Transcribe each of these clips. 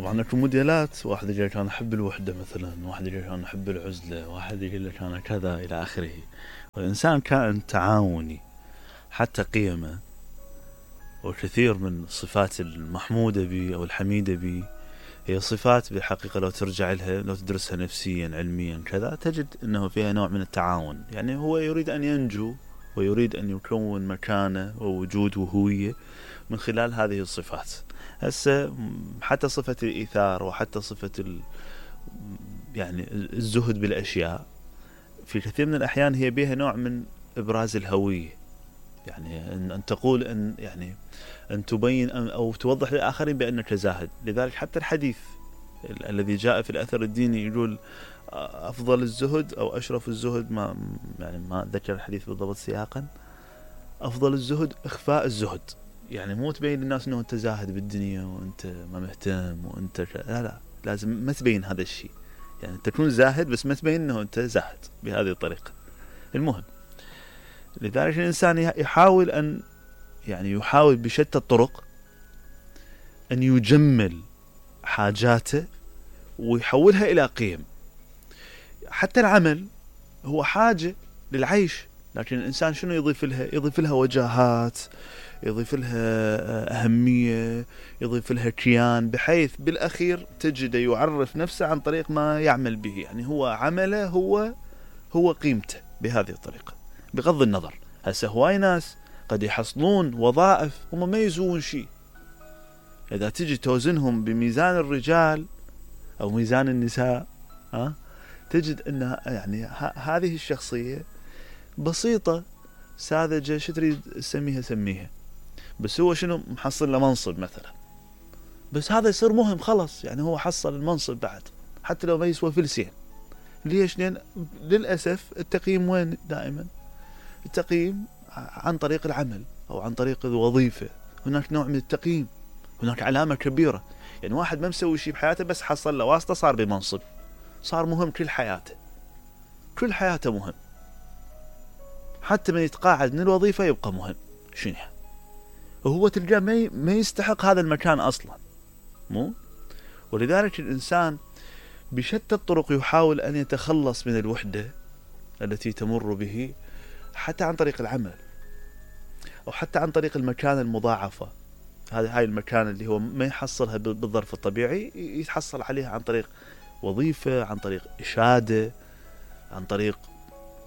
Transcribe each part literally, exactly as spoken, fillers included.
طبعا اكو موديلات، واحد يقول لك انا احب الوحده مثلا، واحد يقول لك انا احب العزله، واحد يقول لك انا كذا الى اخره. والانسان كائن تعاوني، حتى قيمه وكثير من الصفات المحموده به او الحميده به هي صفات بالحقيقه لو ترجع لها، لو تدرسها نفسيا علميا كذا، تجد انه فيها نوع من التعاون. يعني هو يريد ان ينجو ويريد ان يكون مكانه ووجود وهويه من خلال هذه الصفات. هسه حتى صفة الإيثار وحتى صفة ال يعني الزهد بالأشياء في كثير من الأحيان هي بها نوع من إبراز الهوية. يعني أن تقول أن يعني أن تبين أو توضح للآخرين بأنك زاهد. لذلك حتى الحديث الذي جاء في الأثر الديني يقول أفضل الزهد أو أشرف الزهد، ما يعني ما ذكر الحديث بالضبط سياقا، أفضل الزهد إخفاء الزهد. يعني مو تبين للناس انه انت زاهد بالدنيا وانت ما مهتم وانت ك... لا لا لازم ما تبين هذا الشيء. يعني تكون زاهد بس ما تبين انه انت زاهد بهذه الطريقة. المهم لذلك الانسان يحاول ان يعني يحاول بشتى الطرق ان يجمل حاجاته ويحولها الى قيم. حتى العمل هو حاجة للعيش، لكن الانسان شنو يضيف لها؟ يضيف لها وجاهات، يضيف لها أهمية، يضيف لها كيان، بحيث بالأخير تجد يعرف نفسه عن طريق ما يعمل به. يعني هو عمله هو هو قيمته بهذه الطريقة. بغض النظر هسه هواي ناس قد يحصلون وظائف هم ما يسوون شيء، إذا تجي توزنهم بميزان الرجال أو ميزان النساء ها تجد أن يعني هذه الشخصية بسيطة ساذجة، شو تريد تسميها سميها، بس هو شنو محصل له منصب مثلا، بس هذا يصير مهم خلص. يعني هو حصل المنصب بعد حتى لو ما يسوى فلسين. ليش؟ لأن للأسف التقييم وين دائما؟ التقييم عن طريق العمل أو عن طريق الوظيفة. هناك نوع من التقييم، هناك علامة كبيرة. يعني واحد ما مسوي شيء بحياته بس حصل له واسطة صار بمنصب، صار مهم كل حياته، كل حياته مهم، حتى من يتقاعد من الوظيفة يبقى مهم. شنو وهو تلقاه ما يستحق هذا المكان أصلا، مو؟ ولذلك الإنسان بشتى الطرق يحاول أن يتخلص من الوحدة التي تمر به، حتى عن طريق العمل أو حتى عن طريق المكان المضاعفة. هذه هاي المكان اللي هو ما يحصلها بالظرف الطبيعي يتحصل عليها عن طريق وظيفة، عن طريق إشادة، عن طريق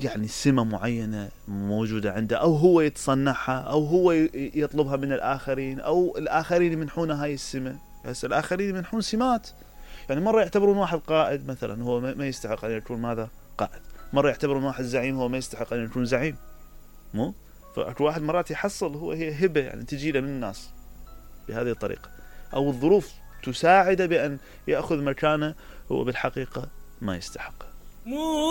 يعني سمة معينة موجودة عنده، أو هو يتصنعها أو هو يطلبها من الآخرين أو الآخرين يمنحونه هاي السمة. بس الآخرين يمنحون سمات. يعني مرة يعتبرون واحد قائد مثلا هو ما يستحق أن يكون ماذا؟ قائد. مرة يعتبرون واحد زعيم هو ما يستحق أن يكون زعيم، مو؟ فأكو واحد مرات يحصل هو هي هبة يعني تجي له من الناس بهذه الطريقة، أو الظروف تساعده بأن يأخذ مكانه هو بالحقيقة ما يستحق.